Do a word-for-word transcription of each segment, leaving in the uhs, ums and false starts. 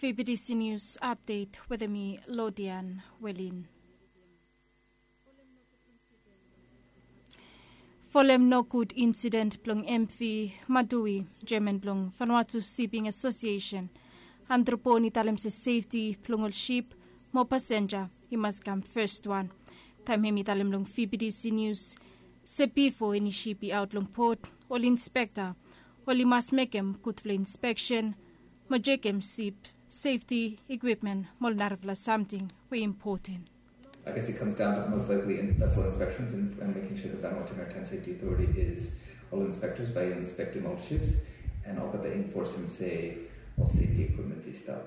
B B C News Update wetem mi Lodian Welin. Folem nogud insident blong M V Madui, Chairman blong Vanuatu Shipping Association, Andrew Pon i talem se sefti blong ol sip mo pasenja i mas kam fes wan. Taem hem i talem long V B C News se bifo eni sip i aot long pot, ol inspekta oli mas mekem gudfala inspeksen mo jekem sip sefti, ekwipmen mo ol narafala samting we i impoten. I guess it comes down to most likely in vessel inspections and, and making sure that Vanuatu Maritime Safety Authority is all inspectors by inspecting all ships and all that they enforce and say all safety equipment i stap.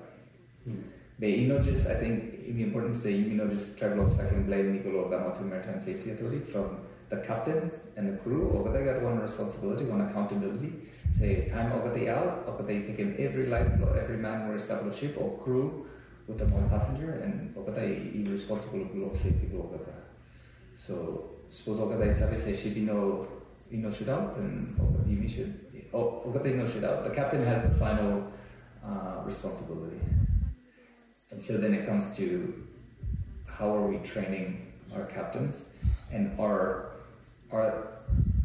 Be i no just, I think, i important to say i no just travel of second blame mi go lo Vanuatu Maritime Safety Authority from the captain and the crew. Olgeta i gat wan responsibility, wan accountability. Se taem olgeta i aot, olgeta i tekem evri laef blong evri man we i stap lo sip o crew wetem ol pasenja, and olgeta i, i responsible lo safety blo olgeta. So sapos olgeta i save se sip i no, i no sutaot, then olgeta i no sutaot. The captain has the final uh, responsibility. And so then it comes to how are we training our captains, and are are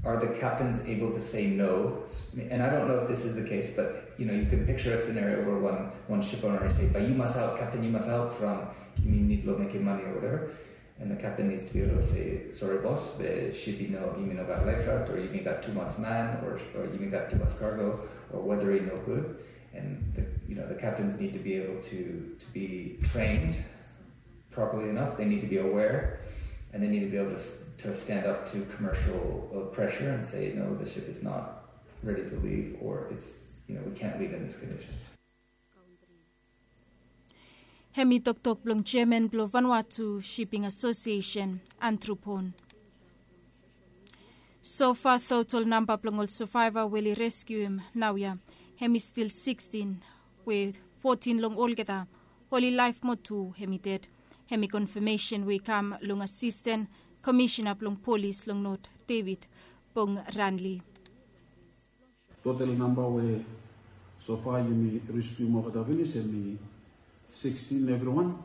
are the captains able to say no? And I don't know if this is the case, but you know, you can picture a scenario where one one ship owner say, "But you must out, captain, you must out from, you need to make your money or whatever." And the captain needs to be able to say, "Sorry, boss, the ship, you know, you may not got life raft, or you may got too much man, or, or you may got too much cargo, or weather ain't no good." And the, you know, the captains need to be able to, to be trained properly enough. They need to be aware, and they need to be able to, to stand up to commercial uh, pressure and say, "No, the ship is not ready to leave, or it's, you know, we can't leave in this condition." Hem i toktok blong Chairman blong Vanuatu Shipping Association, Andrew Pon. Sofa total namba blong ol survivor we oli reskium naoia hem i stil sikstin, we fotin long olgeta oli laef mo tu hem i ded. Hem i konfamesen we i kam long asisten komisena blong polis long Not, David Bongranli. Total namba we sofa yumi reskium olgeta finis hem i sikstin evriwan.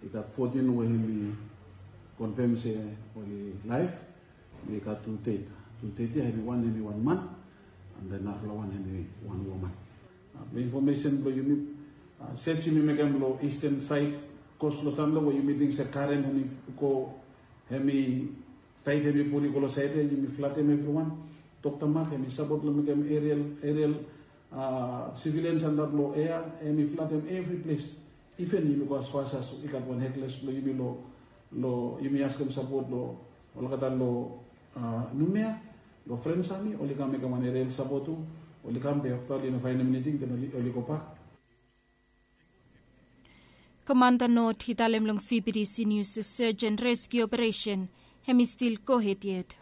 I gat fotin we hem i konfam se oli laef. Mi gat tu ded. Tu ded ya hem i wan, hem i wan man, and then narafala wan hem i wan woman. Infomesen blong yumi, sej yumi mekem long isten saed, kos long sanlo we yumi ting se karen hem i go, hem i taed hem i pul i go long saed ya, yumi flatem evriwan. Dokta Mak hem i sapot long mekem erial, erial sivilians antap long ea, hem i flatem evri ples. Iven yumi go asfas as i gat wan hekles blong yumi long, long yumi askem sapot long olgeta long Numea, long Frens Ami, oli kam mekem wan erial sapot tu. Oli kam be afta oli no faenem eniting, den oli, oli gobak. Komanda Not i talem long V B C News se search and rescue operation hem i stil gohed yet.